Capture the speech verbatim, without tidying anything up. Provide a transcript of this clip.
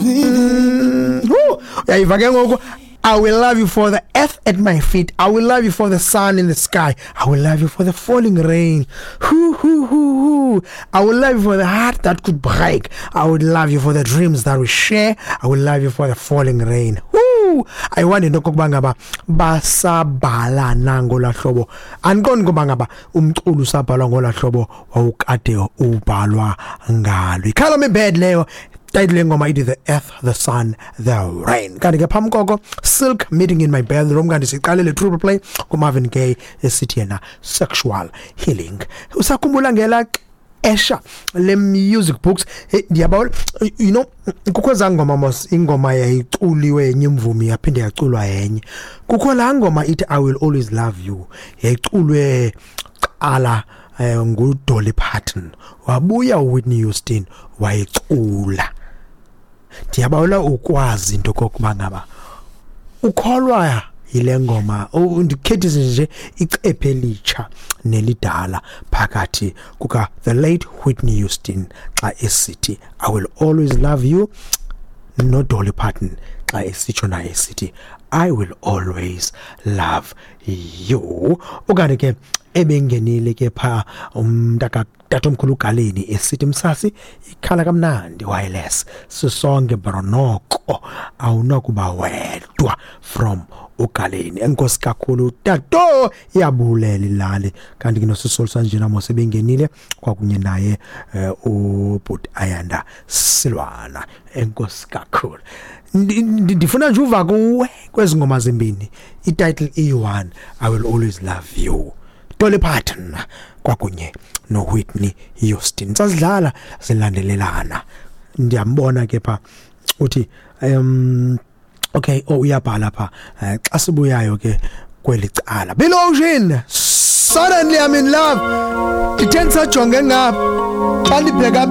Mm, uyayiva ke ngoku. I will love you for the earth at my feet. I will love you for the sun in the sky. I will love you for the falling rain. Hoo, hoo, hoo, hoo. I will love you for the heart that could break. I would love you for the dreams that we share. I will love you for the falling rain. Woo! I want into okokuba ngaba basabhala nangolaa hlobo. Andiqondi ukuba ngaba umculo usabhalwa ngolaa hlobo wawukade ubhalwa ngalo. Ikhala me bad leyo. Title yengoma ithi The Earth, The Sun, The Rain. Kanti ke phambi koko, Silk, Meeting in My Bedroom. Kanti siqale le triple play kuMarvin Gaye esithi yena Sexual Healing. Usakhumbula ngela xesha le music books? Hey, ndiyabawela, you know, kukho ezaa ngoma mos, ingoma yayiculiwe yenye imvumi yaphinde yaculwa yenye. Kukho laa ngoma ithi I Will Always Love You, yayiculwe qala eh, nguDolly Parton, wabuya uWhitney Houston wayicula. Ndiyabawela ukwazi into kokuba ngaba ukholwa yile ngoma. Ndikhethise nje icephe elitsha nelidala phakathi kuka the late Whitney Houston xa esithi I Will Always Love You, noDolly Parton xa esitsho naye esithi I Will Always Love You. Ukanti ke ebengenile ke pha umntaka tatomkhulu uGaleni esithi msasi ikhala kamnandi wireless sisonke bronoko awunokuba wedwa, from uGaleni. Enkosi kakhulu tato, iyabulela ilali. Kanti ke nosisolu sanjena mos ebengenile kwakunye naye eh, ubhuti Ayanda Silwana, enkosi kakhulu. Ndi- ndi- ndifuna nje uva kuwe kwezi ngoma zimbini, ititle iyi-one, I Will Always Love You, Dolly Parton kwakunye noWhitney Houston. Sazidlala zilandelelana. Ndiyambona ke pha uthi um okay, oh, uyabhala pha. Eh, xa sibuyayo ke kweli cala, Bill Ocean, Suddenly I'm in Love. Ndithe ndisajonge ngapha xa ndibheka.